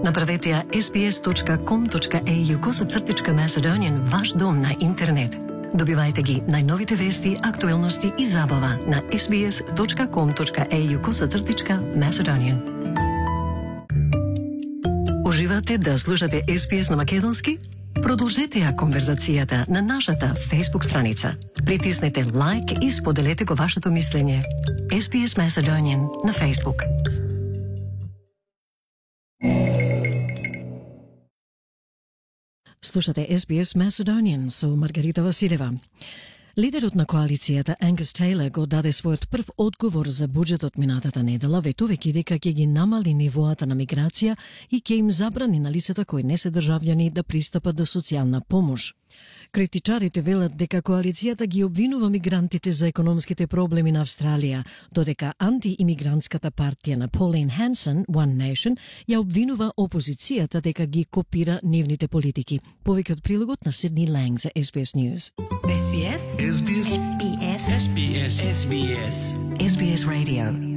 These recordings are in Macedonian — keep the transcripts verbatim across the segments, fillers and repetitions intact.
Направете ја ес би ес точка ком точка ей ю коса цртичка Macedonian ваш дом на интернет. Добивајте ги најновите вести, актуелности и забава на ес би ес точка ком точка ей ю коса цртичка Macedonian. Уживате да слушате ес би ес на македонски? Продолжете ја конверзацијата на нашата Facebook страница. Притиснете лайк и споделете го вашето мислење. ес би ес Macedonian на Facebook. Слушате ес би ес Macedonian со Маргарита Василева. Лидерот на коалицијата Ангус Тейлор го даде својот прв одговор за буџетот минатата недела, ветувајќи дека ќе ги намали нивоата на миграција и ќе им забрани на лицата кои не се државјани да пристапат до социјална помош. Критичарите велат дека коалицијата ги обвинува мигрантите за економските проблеми на Австралија, додека антиимигрантската партија на Pauline Hanson, One Nation, ја обвинува опозицијата дека ги копира нивните политики. Повеќе од прилогот на Сидни Ланг за ес би ес News. ес би ес ес би ес ес би ес ес би ес ес би ес ес би ес Radio.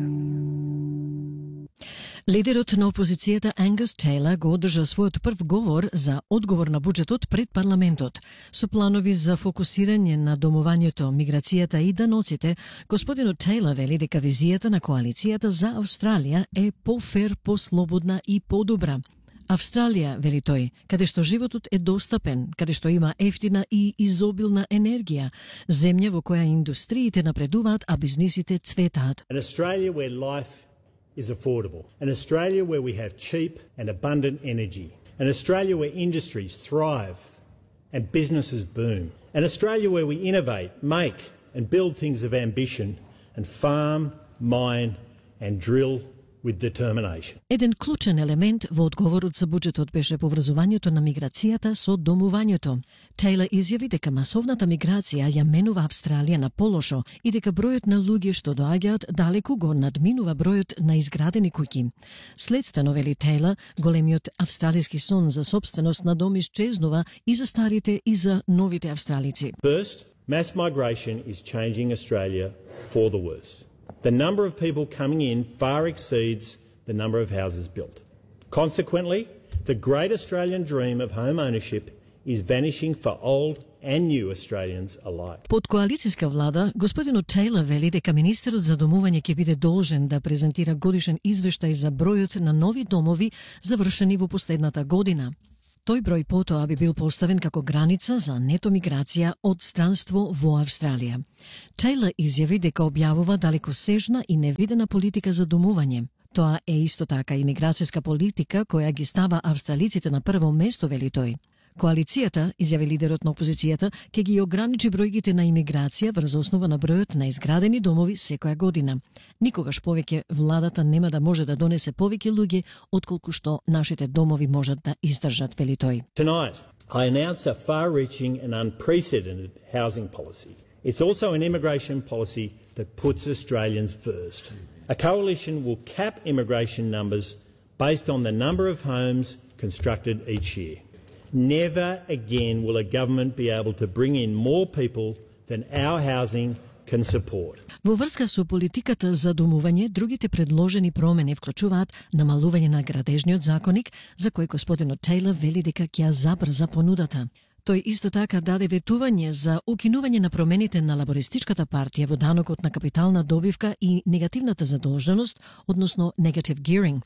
Лидерот на опозицијата Ангус Тейлор го одржа својот прв говор за одговор на буџетот пред парламентот. Со планови за фокусирање на домувањето, миграцијата и даноците, господинот Тейлор вели дека визијата на коалицијата за Австралија е пофер, послободна и подобра. Австралија, вели тој, каде што животот е достапен, каде што има ефтина и изобилна енергија, земја во која индустриите напредуваат, а бизнисите цветаат. An Australia where life is affordable. An Australia where we have cheap and abundant energy. An Australia where industries thrive and businesses boom. An Australia where we innovate, make and build things of ambition and farm, mine and drill with determination. Еден клучен елемент во одговорот за буџетот беше поврзувањето на миграцијата со домувањето. Тейлор изјави дека масовната миграција ја менува Австралија на полошо и дека бројот на луѓе што доаѓаат далеку го надминува бројот на изградени куќи. Следствено, вели Тейлор, големиот австралиски сон за собственост на дом исчезнува и за старите и за новите австралици. First, mass migration is changing Australia for the worse. The number of people coming in far exceeds the number of houses built. Consequently, the great Australian dream of home ownership is vanishing for old and new Australians alike. Под коалицијска влада, господинот Тейлор вели дека министерот за домување ќе биде должен да презентира годишен извештај за бројот на нови домови завршени во последната година. Тој број потоа би бил поставен како граница за нето миграција од странство во Австралија. Тейлор изјави дека објавува далекосежна и невидена политика за домување. Тоа е исто така и миграцијска политика која ги става австралиците на прво место, вели тој. Коалицијата, изјави лидерот на опозицијата, ќе ги ограничи бројките на имиграција врз основа на бројот на изградени домови секоја година. Никогаш повеќе владата нема да може да донесе повеќе луѓе отколку што нашите домови можат да издржат, вели тој. Tonight, I announce a far-reaching and unprecedented housing policy. It's also an immigration policy that puts Australians first. A coalition will cap immigration numbers based on the number of homes constructed each year. Never again will a government be able to bring in more people than our housing can support. Во врска со политиката за домување, другите предложени промени вклучуваат намалување на градежниот законник, за кој господинот Тейлор вели дека ќе ја забрза понудата. Тој исто така даде ветување за укинување на промените на лабористичката партија во данокот на капитална добивка и негативната задолженост, односно negative gearing.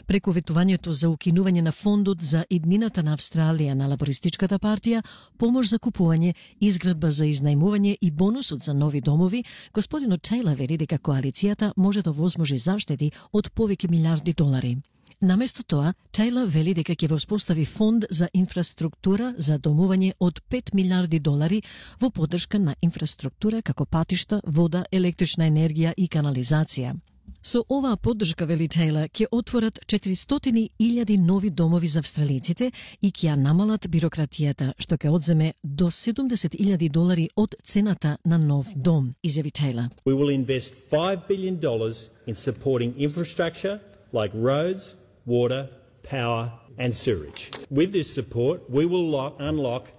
Преку ветувањето за укинување на фондот за иднината на Австралија на лабористичката партија, помош за купување, изградба за изнајмување и бонусот за нови домови, господинот Тейлор вели дека коалицијата може да возможи заштеди од повеќе милиарди долари. Наместо тоа, Тейлор вели дека ќе воспостави фонд за инфраструктура за домување од пет милиарди долари во поддршка на инфраструктура како патишта, вода, електрична енергија и канализација. Со оваа поддршка, вели Тейлор, ќе отворат четиристотини илјади нови домови за австралиците и ќе ја намалат бирократијата, што ќе одземе до седумдесет илјади долари од цената на нов дом, изјави Тейлор. We will invest five billion dollars in supporting infrastructure like roads, water, power and sewerage. With this support, we will lock, unlock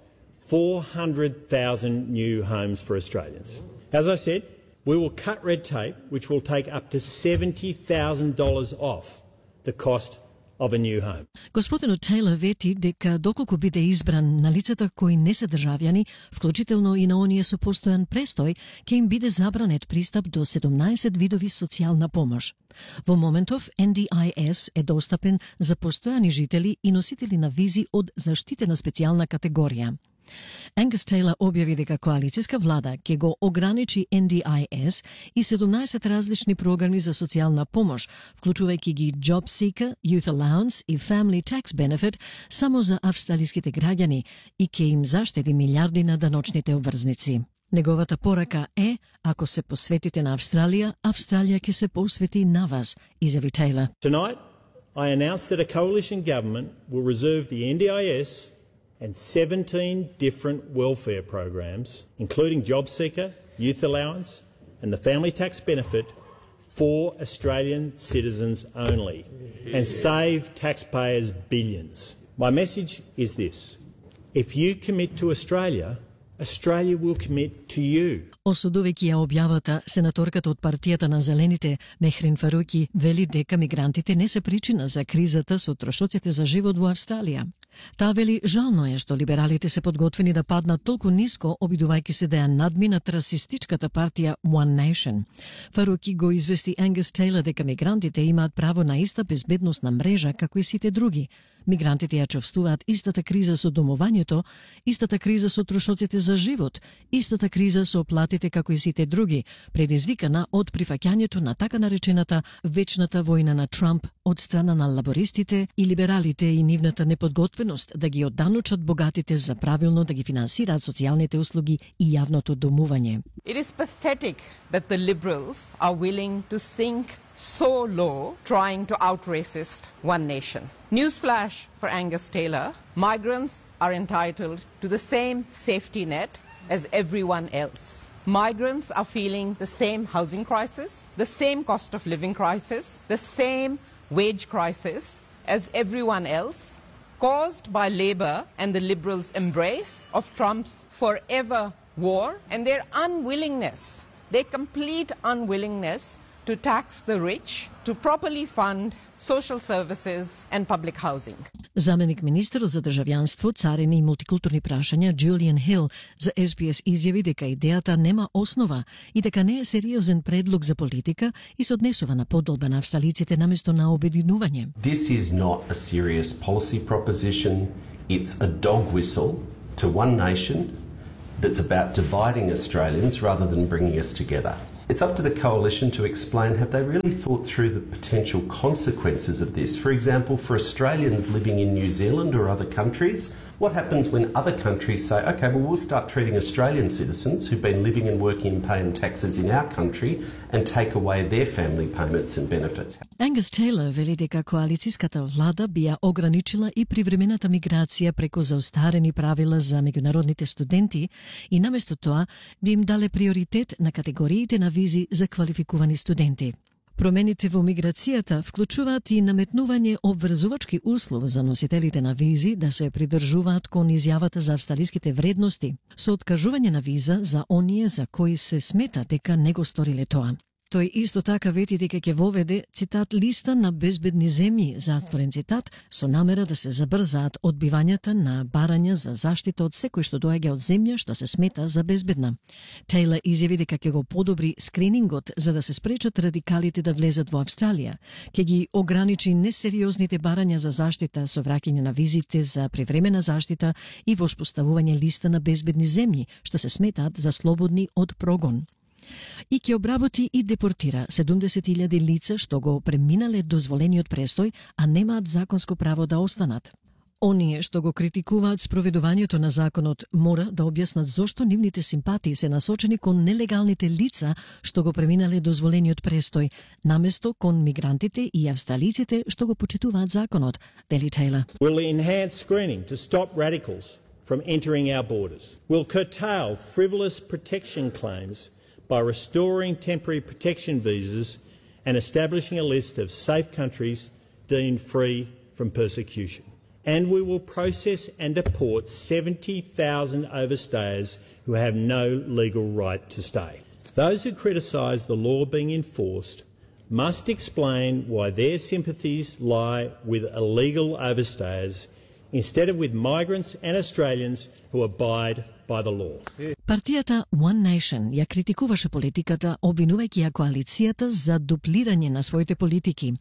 four hundred thousand new homes for Australians. As I said, we will cut red tape, which will take up to seventy thousand dollars off the cost of a new home. Господинот Тейлор вети дека доколку биде избран, на лицата кои не се државјани, вклучително и на оние со постојан престој, ќе им биде забранет пристап до седумнаесет видови социјална помош. Во моментов Ен Ди Ај Ес е достапен за постојани жители и носители на визи од заштитена специјална категорија. Ангус Тейлор објави дека коалицијска влада ќе го ограничи Ен Ди Ај Ес и седумнаесет различни програми за социјална помош, вклучувајќи ги Job Seeker, Youth Allowance и Family Tax Benefit само за австралиските граѓани и ќе им заштеди милиарди на даночните обврзници. Неговата порака е, ако се посветите на Австралија, Австралија ќе се посвети на вас, изјави Тейлор. Tonight, I announce that a coalition government will reserve the Ен Ди Ај Ес and seventeen different welfare programs, including Job Seeker, Youth Allowance and the Family Tax Benefit, for Australian citizens only, and save taxpayers billions. My message is this: if you commit to Australia, Australia will commit to you. Осудувајќи ја објавата, сенаторката од партијата на Зелените, Мехрин Фаруки, вели дека мигрантите не се причина за кризата со трошоците за живот во Австралија. Таа вели жално е што либералите се подготвени да паднат толку ниско, обидувајќи се да ја надминат расистичката партија One Nation. Фаруки го извести Ангус Тейлор дека мигрантите имаат право на иста безбедносна мрежа како и сите други. Мигрантите ја чувствуваат истата криза со домувањето, истата криза со трошоците за живот, истата криза со платите како и сите други, предизвикана од прифаќањето на така наречената вечната војна на Трамп од страна на лабористите и либералите и нивната неподготвеност да ги одданучат богатите за правилно да ги финансираат социјалните услуги и јавното домување. It is pathetic that the Liberals are willing to sink so low trying to out-racist One Nation. Newsflash for Angus Taylor: migrants are entitled to the same safety net as everyone else. Migrants are feeling the same housing crisis, the same cost of living crisis, the same wage crisis as everyone else, caused by Labour and the Liberals' embrace of Trump's forever war and their unwillingness, their complete unwillingness to tax the rich, to properly fund social services and public housing. Заменик министерот за државјанство, царини и мултикултурни прашања Џулијан Хил за Ес Би Ес изјави дека идејата нема основа и дека не е сериозен предлог за политика и се однесува на подолба на австралиците наместо на обединување. This is not a serious policy proposition. It's a dog whistle to One Nation that's about dividing Australians rather than bringing us together. It's up to the coalition to explain, have they really thought through the potential consequences of this? For example, for Australians living in New Zealand or other countries, what happens when other countries say, okay, well, we'll start treating Australian citizens who've been living and working and paying taxes in our country and take away their family payments and benefits? Ангус Тейлор вели дека коалицијската влада би ја ограничила и привремената миграција преку заостарени правила за меѓународните студенти и наместо тоа би им дале приоритет на категориите на визи за квалификувани студенти. Промените во миграцијата вклучуваат и наметнување обврзувачки услов за носителите на визи да се придржуваат кон изјавата за австралиските вредности, со откажување на виза за оние за кои се смета дека не го сториле тоа. Тој исто така вети дека ќе воведе, цитат, листа на безбедни земји, затворен цитат, со намера да се забрзаат одбивањата на барања за заштита од секој што доаѓа од земја што се смета за безбедна. Тейлор изјави дека ќе го подобри скринингот за да се спречат радикалите да влезат во Австралија, ќе ги ограничи несериозните барања за заштита со враќање на визите за привремена заштита и воспоставување листа на безбедни земји што се сметаат за слободни од прогон. И ќе обработи и депортира седумдесет илјади лица што го преминале дозволениот престој, а немаат законско право да останат. Оние што го критикуваат спроведувањето на законот мора да објаснат зошто нивните симпатии се насочени кон нелегалните лица што го преминале дозволениот престој, наместо кон мигрантите и австралиците што го почитуваат законот, вели Тейлор. We'll enhance screening to stop radicals from entering our borders. We'll curtail frivolous protection claims by restoring temporary protection visas and establishing a list of safe countries deemed free from persecution. And we will process and deport seventy thousand overstayers who have no legal right to stay. Those who criticise the law being enforced must explain why their sympathies lie with illegal overstayers instead of with migrants and Australians who abide by the law. Партијата One Nation ја критикуваше политиката, обвинувајќи ја коалицијата за дуплирање на своите политики.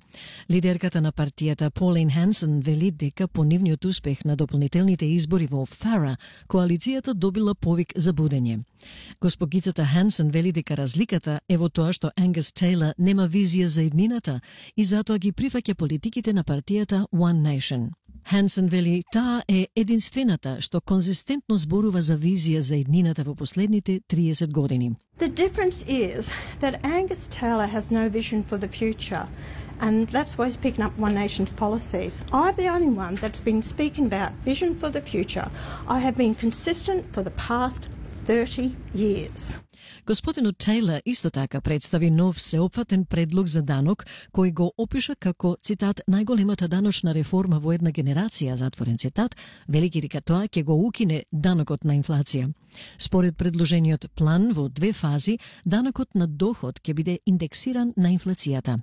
Лидерката на партијата Pauline Hanson вели дека по нивниот успех на дополнителните избори во Фара, коалицијата добила повик за будење. Госпогицата Hanson вели дека разликата е во тоа што Angus Taylor нема визија за еднината и затоа ги прифаќа политиките на партијата One Nation. Hanson вели таа е единствената што конзистентно зборува за визија за еднината во последните триесет години. The difference is that Angus Taylor has no vision for the future, and that's why he's picking up One Nation's policies. I'm the only one that's been speaking about vision for the future. I have been consistent for the past thirty years. Господинот Тейлор исто така представи нов сеопфатен предлог за данок кој го опиша како, цитат, најголемата даночна реформа во една генерација, затворен цитат, велики дека тоа ќе го укине данокот на инфлација. Според предложениот план во две фази, данокот на доход ќе биде индексиран на инфлацијата.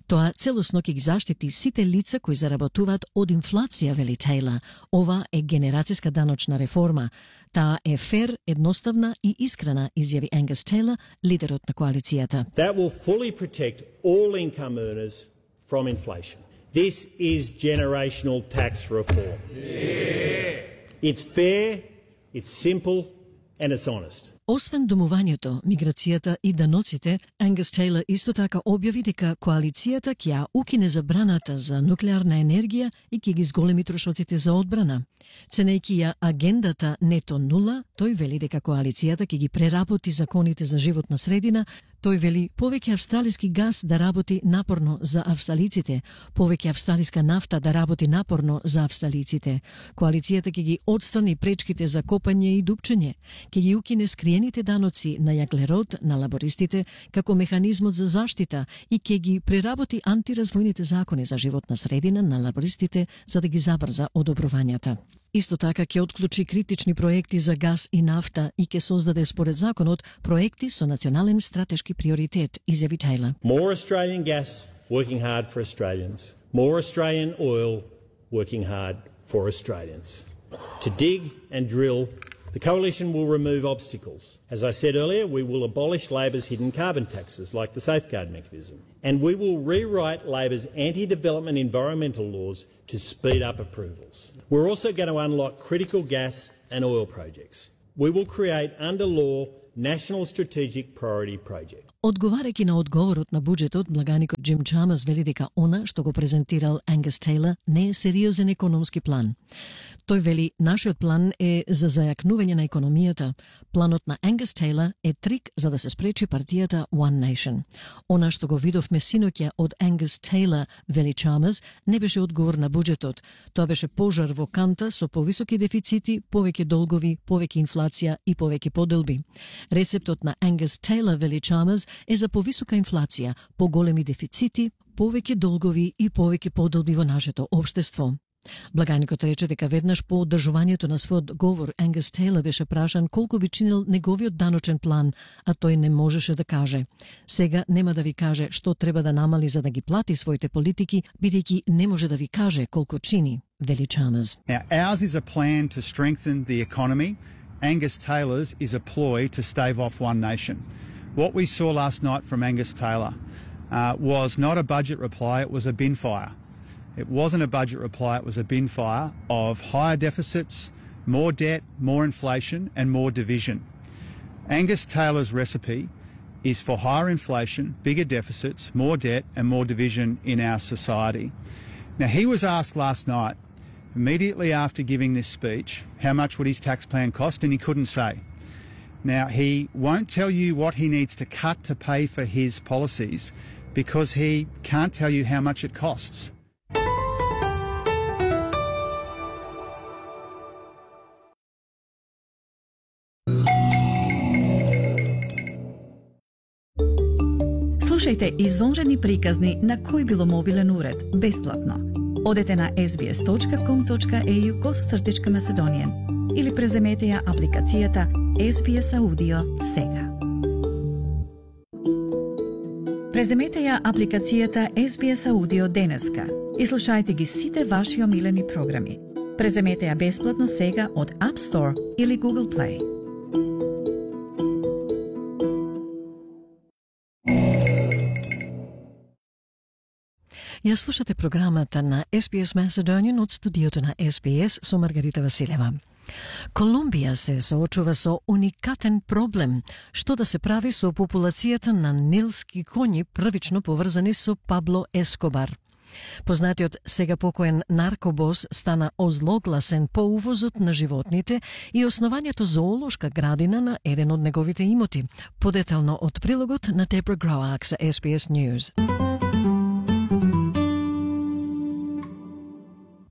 Тоа целосно ќе ги заштити сите лица кои заработуваат од инфлација, вели Тейлор. Ова е генерацијска даночна реформа. Таа е фер, едноставна и искрена, изјави Angus Taylor, лидерот на коалицијата. That will fully protect all income earners from inflation. This is generational tax reform. Yeah. It's fair, it's simple, and it's honest. Освен домувањето, миграцијата и даноците, Angus Taylor исто така објави дека коалицијата ќе ја укине забраната за нуклеарна енергија и ќе ги зголеми трошоците за одбрана. Ценејќи ја агендата нето нула, тој вели дека коалицијата ќе ги преработи законите за животна средина. Тој вели повеќе австралиски газ да работи напорно за австралиците, повеќе австралиска нафта да работи напорно за австралиците. Коалицијата ќе ги отстрани пречките за копање и дупчење, ќе ги укине скриените даноци на јаглерод на лабористите како механизмот за заштита и ќе ги преработи антиразвојните закони за животна средина на лабористите за да ги забрза одобрувањата. Исто така ќе отклучи критични проекти за газ и нафта и ќе создаде според законот проекти со национален стратешки приоритет, изјави Тейлор. More Australian gas working hard for Australians. More Australian oil working hard for Australians. To dig and drill, the Coalition will remove obstacles. As I said earlier, we will abolish Labor's hidden carbon taxes, like the Safeguard Mechanism. And we will rewrite Labor's anti-development environmental laws to speed up approvals. We're also going to unlock critical gas and oil projects. We will create, under law, National Strategic Priority Project. Одговарајќи на одговорот на буџетот, благаникот Джим Чамас вели дека она што го презентирал Angus Taylor не е сериозен економски план. Тој вели, нашиот план е за зајакнување на економијата. Планот на Angus Taylor е трик за да се спречи партијата One Nation. Она што го видовме синоќа од Angus Taylor, вели Чамас, не беше одговор на буџетот. Тоа беше пожар во канта со повисоки дефицити, повеќе долгови, повеќе инфлација и повеќе поделби. Рецептот на Angus Taylor, вели Чамас, е за повисока инфлација, поголеми дефицити, повеќе долгови и повеќе поделби во нашето општество. Благаникот рече дека веднаш по одржувањето на својот говор Angus Taylor беше прашан колку би чинил неговиот даночен план, а тој не можеше да каже. Сега нема да ви каже што треба да намали за да ги плати своите политики, бидејќи не може да ви каже колку чини, вели Чамас. Now, ours is a plan to strengthen the economy. Angus Taylor's is a ploy to stave off One Nation. What we saw last night from Angus Taylor uh, was not a budget reply, it was a bin fire. It wasn't a budget reply, it was a bin fire of higher deficits, more debt, more inflation and more division. Angus Taylor's recipe is for higher inflation, bigger deficits, more debt and more division in our society. Now, he was asked last night, immediately after giving this speech, how much would his tax plan cost, and he couldn't say. Now, he won't tell you what he needs to cut to pay for his policies because he can't tell you how much it costs. Слушајте извонредни приказни на кој било мобилен уред, бесплатно. Одете на ес би ес точка ком точка е ю косацртичка Macedonian или преземете ја апликацијата Ес Би Ес Аудио сега. Преземете ја апликацијата Ес Би Ес Аудио денеска и слушајте ги сите ваши омилени програми. Преземете ја бесплатно сега од App Store или Google Play. Ја слушате програмата на Ес Би Ес Macedonian од студиото на Ес Би Ес со Маргарита Василева. Колумбија се соочува со уникатен проблем, што да се прави со популацијата на нилски коњи првично поврзани со Пабло Ескобар. Познатиот сега покоен наркобос стана озлогласен по увозот на животните и основањето зоолошка градина на еден од неговите имоти. Подетално од прилогот на Дебра Гроак за Ес Би Ес News.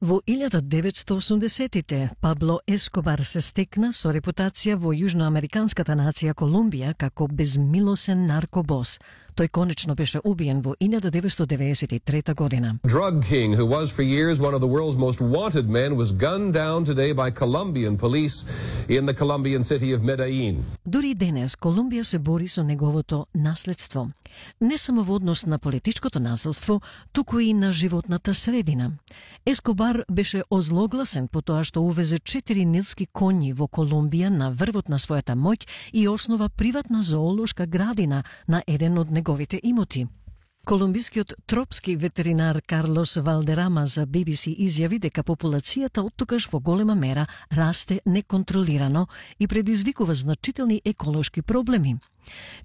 Во илјада деветстотини и осумдесеттите Пабло Ескобар се стекна со репутација во јужноамериканската нација Колумбија како безмилосен наркобос. Тој конечно беше убиен во илјада деветстотини деветдесет и трета година. Drug king who was for years one of the world's most wanted men was gunned down today by Colombian police in the Colombian city of Medellin. Дури денес Колумбија се бори со неговото наследство. Не само во однос на политичкото насилство, туку и на животната средина. Ескобар беше озлогласен по тоа што увезе четири нилски коњи во Колумбија на врвот на својата моќ и основа приватна зоолошка градина на еден од неговите имоти. Колумбискиот тропски ветеринар Карлос Валдерама за Би Би Си изјави дека популацијата оттогаш во голема мера расте неконтролирано и предизвикува значителни еколошки проблеми.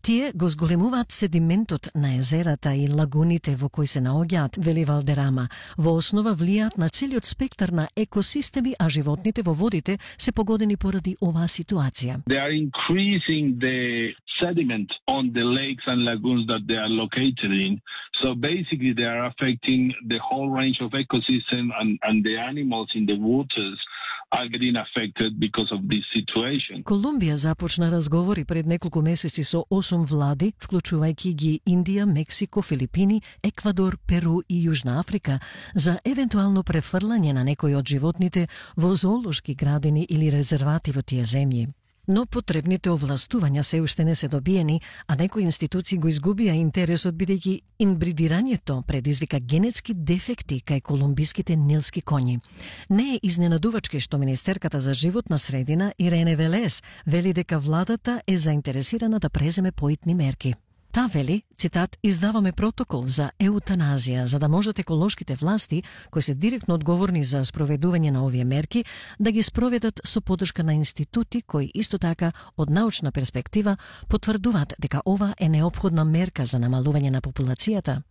Тие го зголемуваат седиментот на езерата и лагуните во кои се наоѓаат, вели Валдерама. Во основа влијаат на целиот спектар на екосистеми, а животните во водите се погодени поради оваа ситуација. They are increasing the sediment on the lakes and lagoons that they are located in. So basically they are affecting the whole range of ecosystem and, and the animals in the waters are getting affected because of this situation. Колумбија започна разговори пред неколку месеци со осум влади, вклучувајќи ги Индија, Мексико, Филипини, Еквадор, Перу и Јужна Африка, за евентуално префрлање на некои од животните во зоолошки градини или резервати во тие земји. Но потребните овластувања се уште не се добиени, а некои институции го изгубија интересот бидејќи инбридирањето предизвика генетски дефекти кај колумбиските нилски коњи. Не е изненадувачки што Министерката за животна средина Ирене Велес вели дека владата е заинтересирана да преземе поитни мерки. Та вели, цитат, издаваме протокол за еутаназија, за да можат еколошките власти, кои се директно одговорни за спроведување на овие мерки, да ги спроведат со поддршка на институти кои исто така од научна перспектива потврдуваат дека ова е неопходна мерка за намалување на популацијата.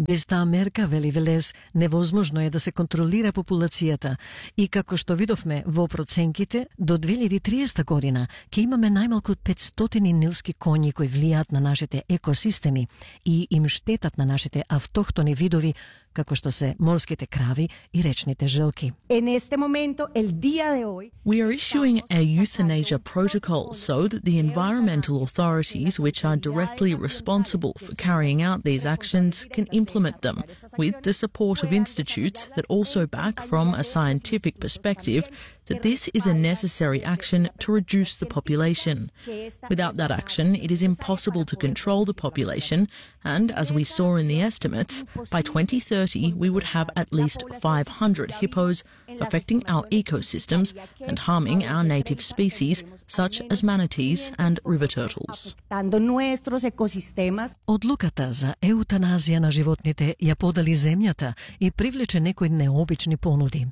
Без таа мерка, вели Велес, невозможно е да се контролира популацијата и како што видовме во проценките, до две илјади и триесета година ќе имаме најмалку петстотини нилски коњи кои влијаат на нашите екосистеми и им штетат на нашите автохтони видови, како што се морските крави и речните желки. We are issuing a euthanasia protocol so that the environmental authorities which are directly responsible for carrying out these actions can implement them with the support of institutes that also back from a scientific perspective that this is a necessary action to reduce the population. Without that action, it is impossible to control the population, and as we saw in the estimates, by twenty thirty we would have at least five hundred hippos affecting our ecosystems and harming our native species, such as manatees and river turtles. Одлуката за еутаназија на животните ја подали земјата и привлече некои необични понуди.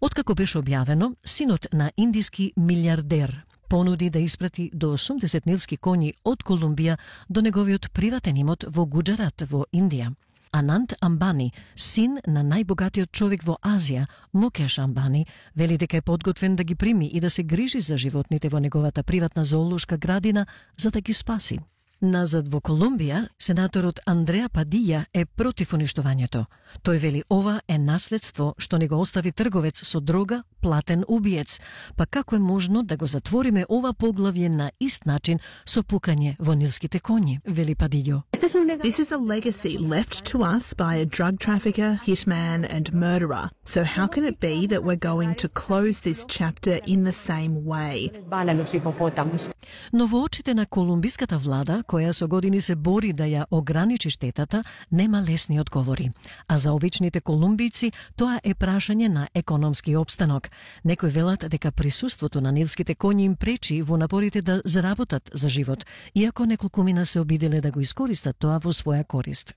Откако беше објавено, синот на индиски милиардер понуди да испрати до осумдесет нилски коњи од Колумбија до неговиот приватен имот во Гуџарат во Индија. Анант Амбани, син на најбогатиот човек во Азија, Мукеш Амбани, вели дека е подготвен да ги прими и да се грижи за животните во неговата приватна зоолошка градина за да ги спаси. Назад во Колумбија, сенаторот Андреа Падија е против уништувањето. Тој вели ова е наследство што ни го остави трговец со дрога, платен убиец. Па како е можно да го затвориме ова поглавје на ист начин со пукање во нилските коњи, вели Падијо. This is a legacy left to us by a drug trafficker, hitman and murderer. So how can it be that we're going to close this chapter in the same way? Но во очите на колумбиската влада, која со години се бори да ја ограничи штетата, нема лесни одговори. А за обичните колумбици тоа е прашање на економски опстанок. Некои велат дека присуството на нилските коњи им пречи во напорите да заработат за живот, иако неколкумина се обиделе да го искористат тоа во своја корист.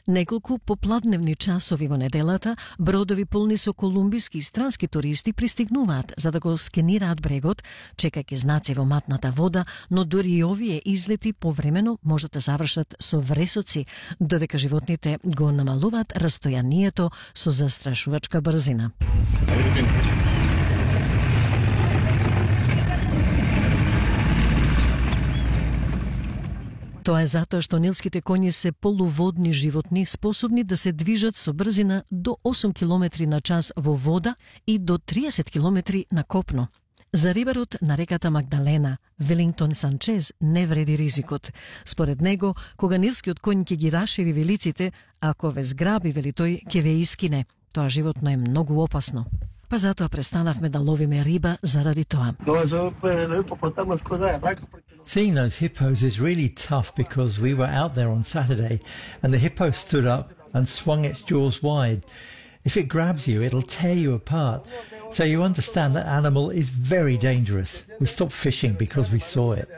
Неколку попладневни часови во неделата, бродови полни со колумбиски и странски туристи пристигнуваат за да го скенираат брегот, чекајќи знаци во матната вода, но дури и овие излети повремено можат да завршат со вресоци, додека животните го намалуваат растојанието со застрашувачка брзина. Тоа е затоа што нилските коњи се полуводни животни, способни да се движат со брзина до осум километри на час во вода и до триесет километри на копно. За рибарот на реката Магдалена, Велингтон Санчез, не вреди ризикот. Според него, кога нилскиот коњ ќе ги рашири велиците, ако ве зграби, вели тој, ќе ве искине. Тоа животно е многу опасно. Па затоа престанавме да ловиме риба заради тоа. Seeing those hippos is really tough because we were out there on Saturday and the hippo stood up and swung its jaws wide. If it grabs you, it'll tear you apart. So you understand that animal is very dangerous. We stopped fishing because we saw it.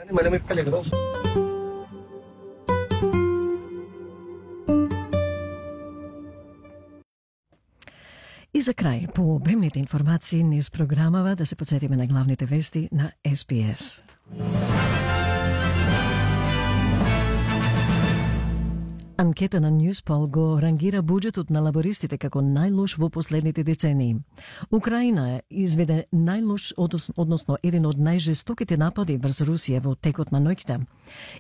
И за крај, по обемните информации низ програмава да се подсетиме на главните вести на Ес Би Ес. Анкета на Newspol го рангира буџетот на лабористите како најлош во последните децении. Украина изведе најлош, односно еден од најжестоките напади врз Русија во текот на ноќта.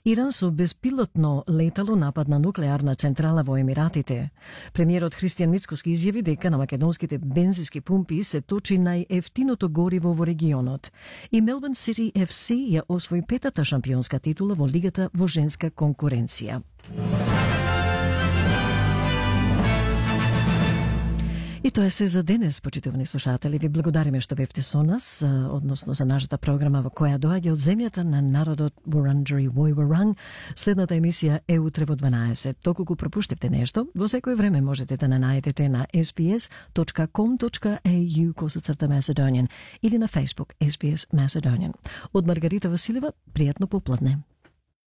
Иран со безпилотно летало напад на нуклеарна централа во Емиратите. Премиерот Христијан Мицкоски изјави дека на македонските бензински пумпи се точи најефтиното гориво во регионот. И Мелбурн Сити Еф Си ја освои петата шампионска титула во лигата во женска конкуренција. И тоа е се за денес, почитувани слушатели. Ви благодариме што бевте со нас, односно за нашата програма во која доаѓа од земјата на народот Вуранджери Војворанг. Следната емисија е утре во дванаесет. Доколку пропуштивте нешто, во секој време можете да не најдете на ес би ес точка ком точка ей ю косацрта Macedonian или на Facebook Ес Би Ес Macedonian. Од Маргарита Василева, пријатно попладне.